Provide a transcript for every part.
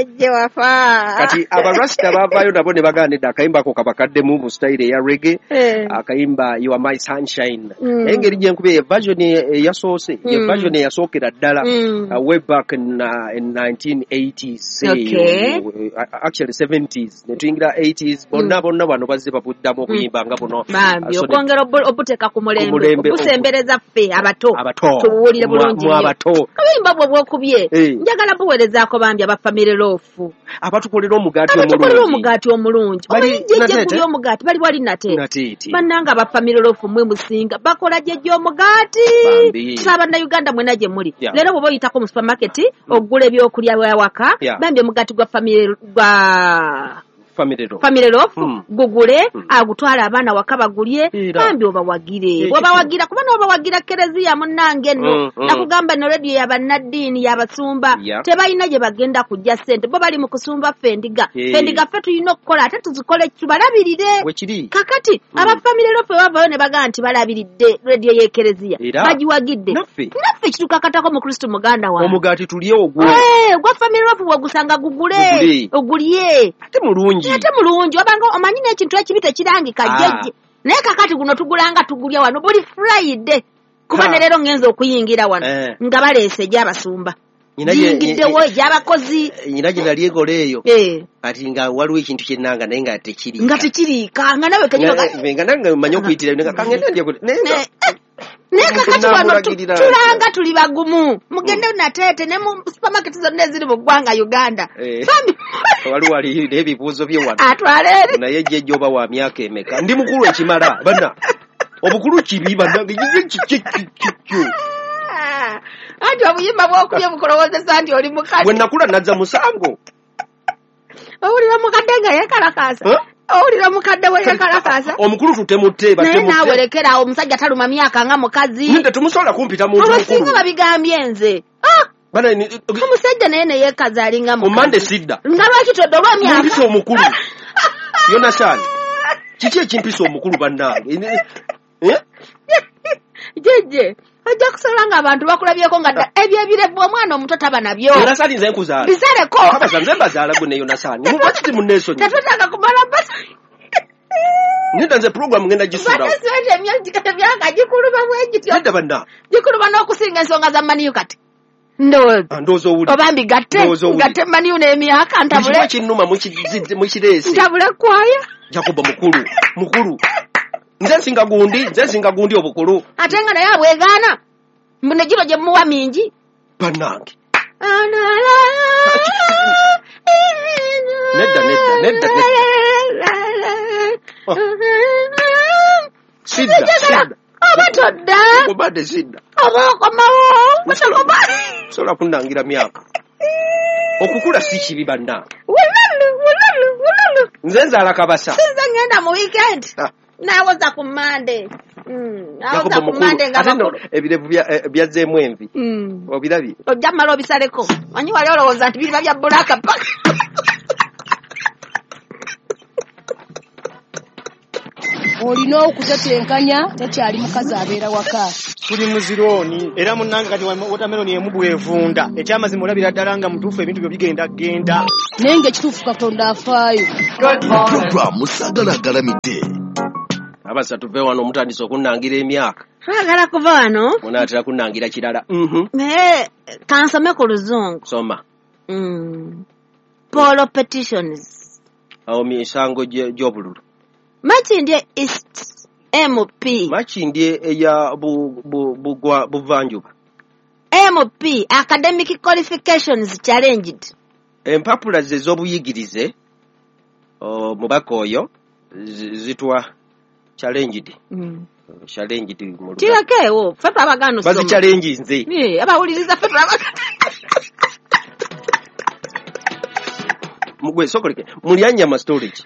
Jjejje wafa. Kati abarasita bavaayo nabo ne bagamba nedda, akayimba ako kabakaddemu mu style eya reggae. Akayimba "You Are My Sunshine". Naye engeri gyenkubye ye version eyasoose, ye version eyasookera ddala way back in 1980s, actually 70s, ne tuyingira 80s, bonna bonna bano bazze babuddamu okuyimba nga buno. Bambi, So okwongera obuteeka ku Ku mulembe, mulembe, obusembereza ffe abato, abato tubuwulire bulungi mwa nnyo. Abato. Oluyimba bwe bwokubye, njagala buwerezaako bambi aba Family Loaf, abatukolera omugaati abatukolera omulungi. Omugaati omulungi. Bali Omanyi jjejje Nateete? guli omugaati bali wali Nateete. Nateete. Bannange aba Family Loaf, mwe musinga, bakola jjejje omugaati. Bambi. Tusaba Bannayuganda mwena gye muli, leero bw'oba oyitako mu supermarket ogula ebyokulya byawaka, bambi omugaati gwa family gwa Family Loaf. Family Loaf, gugule, agutwale abaana waka bagulye. Era. Bambi obawagire. Bw'obawagira, kuba n'obawagira kereziya munnange nno. Nakugamba no rediyo yabannaddiini, yabasumba. Tebalina gye bagenda kujja ssente, bo bali mu kusumba ffe endiga. Ffe endiga ffe tulina okukola, ate tuzikole tubalabirire. Wekiri. Kakati aba Family Loaf bavayo ne bagamba nti balabiridde rediyo y'ekereziya, Era. bagiwagidde. Naffe. Naffe kitukakatako mu Kristo muganda wange. Omugaati tulye ogwo. Eh, ogwa Family Loaf bw'ogusanga gugule. Gugule. Ogulye. Ate mulungi. Ate mulungi, wabanga omanyi n'ekintu ekibi tekirangika. Jjejje, naye kakati guno tugulanga tugulya wano buli Friday, kuba ne leero ngenza okuyingira wano nga baleese egy'abasumba, giyingiddewo egy'abakozi. Nyina gye nali enkola eyo, kati nga waliwo ekintu kyenanga naye nga tekiriika. Nga tekiriika, nga nawe kenyini Nga nange manyi okuyitira nga kangende ndye naye nga Naye kakati wano Namulagirira. tulanga tuli bagumu, mugende Nateete ne mu supermarket zonna eziri mu ggwanga Uganda. Bambi. Waliwo ali n'ebibuuzo bye wano. Atwale eri. Naye jjejja oba wa myaka emeka? Ndi mukulu ekimala banna, obukulu kibi bannange. Kikyo? Ah, anti obuyimba bwokubye bukulowoozesa nti oli Bwe mukadde. nakula nazza musango. Owulira omukadde nga yeekalakaasa? Huh? Owulira omukadde we yeekalakaasa? Omukulu tutemutte. Naye naawe Batemutte. lekeraawo, omusajja taluma myaka nga mukazi. Nidda, tumusobola kumpita muntu Abasinga mukulu. babigambye nze. Ah, Bana, omusajja naye neyeekaza alinga ku Mande mukazi. sidda. Nga lwaki todde olw'emyaka? Mumpisa omukulu, Yonasani, kiki ekimpisa omukulu bannange? Eh? Jjejje ojja kusobola ng'abantu bakulabyeko nga dda ebyo ebirevu omwana omuto taba nabyo. Yonasani, nze nkuzaala. Bisaleko. Kabaza nze mbazaala gwe ne Yonasani, lwaki timunneesonyi? Tetwetaaga kumala basa. Nedda, nze puroguramu ngenda gisuulawo. Bate emyaka gikuluma bwe gityo. Nedda banna. Gikuluma n'okusinga ensonga za Man U kati ndowooza. Ah, ndowooza owulira. Oba mbigatte? Ndowooza owulira. Ngatte Man U n'emyaka ntabule. Ekimu ekinnuma mukireese. Ntabule kwaya. Jacobo mukulu, mukulu, nze nsinga gundi, nze nsinga gundi obukulu. Ate nga naye abwegaana mbu ne gino gye muwa mingi. Bannange, nedda, nedda, nedda, nedda. Oh. Sidda, sidda. Oba todda. Obadde sidda. Oba okomawo otakoma. Sobola kunnangira myaka, okukula si kibi bannange. Wululu wululu wululu. Nze nzaala kabasa. Sinze ngenda mu weekend. Ah. Nawoza ku Mande. Nawoza Jacobo ku mukulu Mande nga ate nno bakulu. ebirevu byazzeemu envi. Obirabye? Ojja mmala obisaleko, manyi wali olowooza nti biriba bya bulaka paka. Olina okutetenkanya, tekyali mukazi abeera waka. Tuli mu zirooni era munnange kati wotameloni emu bwevunda, ekyamazima olabira ddala nga mutuufu ebintu byo bigenda genda. Naye ng'ekituufu Katonda afaayo. Puroguramu Saagala Agalamidde. Abasa tuve wano, omutandise okunnangira emyaka. Twagala kuva wano. Munaatera kunnangira kirala. Naye kansome ku luzungu. Soma. Poll petitions. Awo misango gy'obululu. Makindye East MP. Makindye eya buvanjuba. MP academic qualifications challenged. Empapula ze ez'obuyigirize omubaka oyo zitwa challenged. Challenged mu Luganda. Kirakeewo ffe twabagaana osoma. Bazichallenginze. Eh, abawuliriza ffe twabagaana. Mugwe sokoleke mulyanyama storage.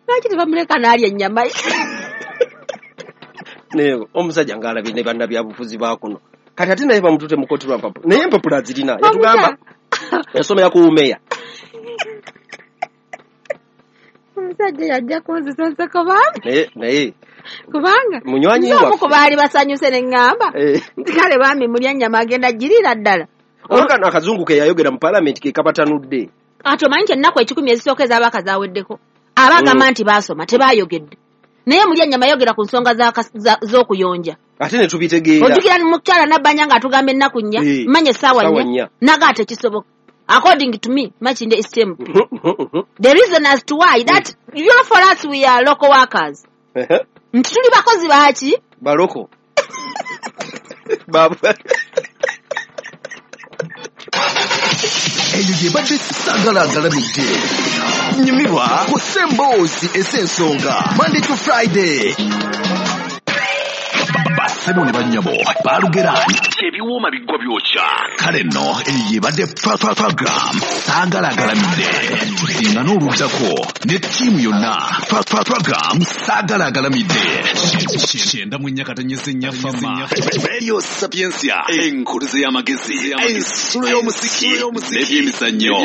Lwaki tebamuleka n'alya ennyama ye? Naye omusajja ng'alabye ne bannabyabufuzi ba kuno, kati ate naye bamutute mu kooti lwa mpapula, naye empapula azirina, yatugamba yasomera ku umeya. Omusajja yajja kunzisa enseko bambi. Naye naye Kubanga munywanyi nze omu waffe. ku baali basanyuse ne ŋŋamba nti kale bambi mulya nnyama agenda girira ddala. Olwo kano akazungu ke yayogera mu palamenti ke kabatanudde. Ate omanyi nti ennaku 10 ezisooka ez'abaka zaaweddeko, abagamba nti baasoma tebaayogedde, naye mulya nnyama yogera ku nsonga z'okuyonja ate ne tubitegeera. Ojjukira mukyala Nabbanja ng'atugamba ennaku 4, manya essaawa 4, naga tekisoboka. According to me, Makindye East MP. The reason as to why that you know, for us we are local workers. Nti tuli bakozi baaki? Baloko. Eyo ye badde Saagala Agalamidde. Nyumirwa ku Ssemboozi ez'ensonga Monday to Friday. Bassebo ne bannyabo balugera ebiwooma biggwa byokya. Kale nno eyo ye badde program Saagala Agalamidde. Tusinga n'oluddako ne ttiimu yonna. Program Saagala Agalamidde. 94.4 Fama. Radio Sapientia, enkuluze y'amagezi, ensulo y'omuziki n'ebyemizannyo.